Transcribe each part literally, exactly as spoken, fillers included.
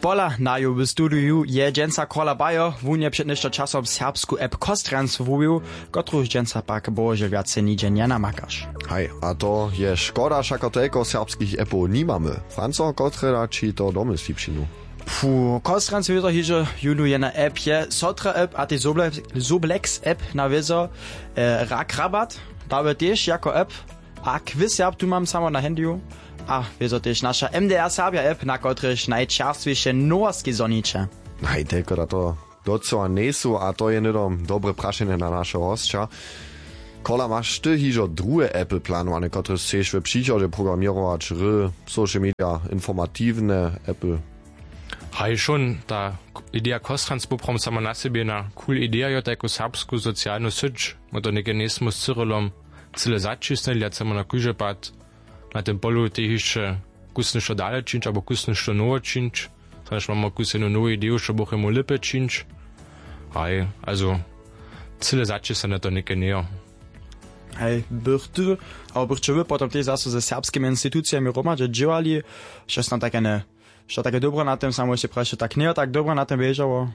Pola naju w studiju je dźensa kola bajo. Wón je před něšto časom serbsku app Kostranc wuwił, kotruž dźensa pak bohužel wjace nihdźe njenamakaš. Haj, a to je škoda, wšako telko serbskich appow nimamy. Franco, kotre da ći to domysli přinu? Fu, Kostranc wězo hižo jónu jedna app je sotra app a tej zoblex app na wězo. Rak rabat dawy tež jako app. A quiz serb tu mam samo na handyju. A wězo tež naša mdr serbja app, na kotrež najčerstwiše nowoski zhoniće. Najtelko da to docyła njejsu a to je hnydom dobre prašenje na našeho hosća. Kola, maš ty hižo druhe apple planowane, kotrež chceš w přichodźe programěrować? Ry, social media, informatiwne apple? Haj šón, ta ideja Kostranc poprawom samo na sebje jedna cool ideja jo, tajku serbsku socialnu syć. Mo to něke njejsmu z cyrylom cyle zaćisnili a chcemy na kóždy pad na tym polu tej hišće kusnyšto dale čińć abo kusnyšto nowo čińć. Znaš, mamy kus jednu nowu ideju, što bychmy lěpje čińć. Haj, also cyle zaćisnjene to něke njejo. Hej, bych ty abo bych će wy potom tež zaso ze serbskimi institucijemi hromadźe dźěłali? Što snam take ne što take dobre na tym samo sej prašće tak njejo tak dobre na tym wěžało?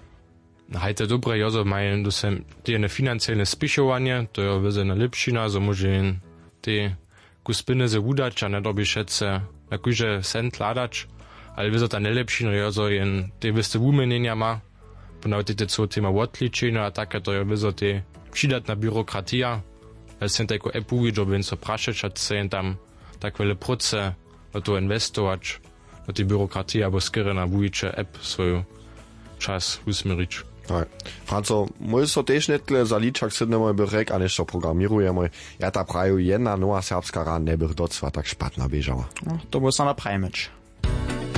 Haj, to je dobre jo zo maja dosem te jene financielne spěchowanje, to jo wězo jena lěpšina zo móže jen te kus pjenjezy wudać a njedyrbi wšetce na kóždy cent hladać. Ale wězo ta njelěpšina jo zo jen te wěste wuměnjenja ma. Ponawitej te cyłe tema wotličenja a take to jo wězo te přidatna byrokratija. Jaz sej tajku app wuwidźo bě jen so prašeć a chce jen tam tak wjele próce do toho inwestować, do tej byrokratije abo skerje na wuwiće app swoju čas wusměrić. Franco, móžeš so tež nětle za ličak sydnjemoj bych rjek a něšto programěrujemoj. Ja tak praju jedna nowa serbska hrana njebych docyła tak špatna běžała. To móžeš so naprajmyć.